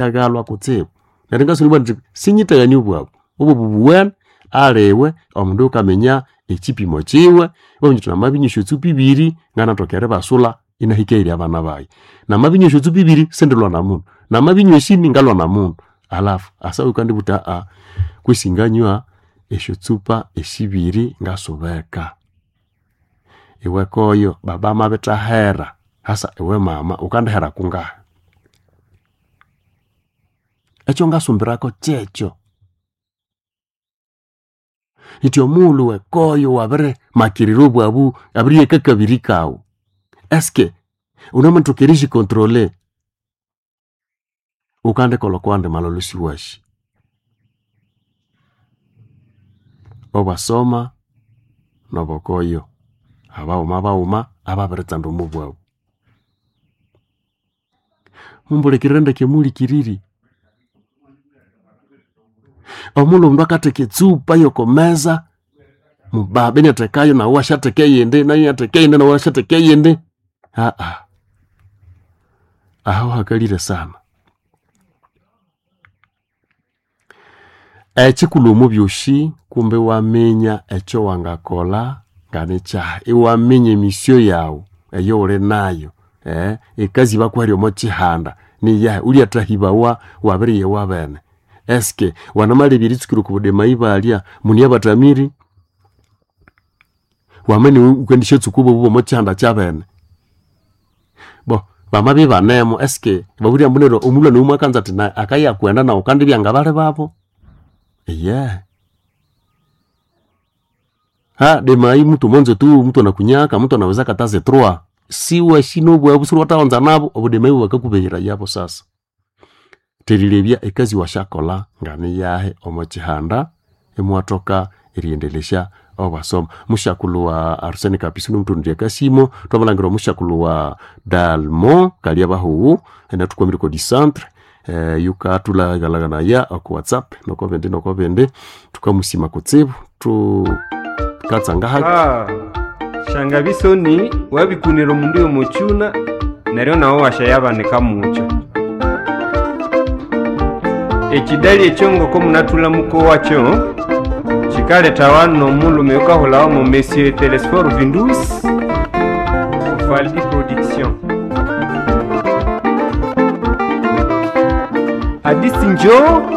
Agalwa kutsibu. Neryo ngasoma nti sinyithagania obwabu obo bubuwene aliwe omundu yukaminya ekipimo kiwe, iwaminya uthi namabinywa esyotsupa ibiri nganathoka eribasula inahika abana bayi. Namabinywa esyotsupa ibiri sindilwa na mundu, namabinywa esini ngalwa na mundu. Alafu asa wukandibuwa wuthi kwesi nganywa esyotsupa esibiri ngasubeka. Iwe koyo baba amabithahera hasa iwe mama wukandihera kungahi? Ekyongasumbirako kyekyo. Indi omughulhu wekoyo wabirimakirira obwabu abiriheka akabiri kawu, eske wunamathoka eriyicontrole? Wukandikolha okwawandi malholho isiwasi. Obwasoma nobokoyo abaghuma baghuma ababiritsanda omwa bwabu. Mumbulikirire ndeke muhulikiriri, omughulhu omundu akatheka etsupa yoko meza, mubaba inathekayo nawu iwasyatheka eyindi, nayu inatheka eyindi, nawu iwasyatheka eyindi, aho hakalire sana. Ekyikulhu omo byosi kumbe iwaminya ekyowangakolha nganikyahi, iwaminya emisyo yawu eyoghuli nayu, ekazi bakuhere omo kyihanda niyahi, wulyathahibawa wabiriya bene. Eske wanamalebya eritsukira oko budemayi ibalya mune abathamiri? Wamabya iniwe wukendisyatsuka obwabu bwomo kyihanda kyabene. Bo bamabya ibanemu eske babwire ambu neryo omulhwana oyu mwakanza athi akayakughenda nawu wukandibya ngabali babu? Eyehe. Demayi mutu mwanzo tu mutu anakunyaka mutu anaweza kataze trois siwasi nobwabu siwathaghonza nabu obudemayi bwakakubeherayabu sasa. Therilebya ekazi wasyakolha nganiyahi omo kyihanda imuwathoka eriyendeleska obwasoma. Musyakulhu wa Arsene Kapisi nimuthondya akasimo, thwamalhangira omusyakulhu wa Dalmo Kalyabahuwu inathukwamire oko dicentre, yukathulaghalhaganaya oko whatsapp nokobindi nokobindi, thukamusima kutsibu thukatsanga haki. Shangabisoni wabikunira omundu yomokyuna neryo nawe wasyayabanika mukyo. Ekidali ekyo ngoko munathulha mukowakyo kyikaletawa n'omulhume oyukahulhawa mo Monsieur Telesphore Vindus Faldi Production. Hadisi njo.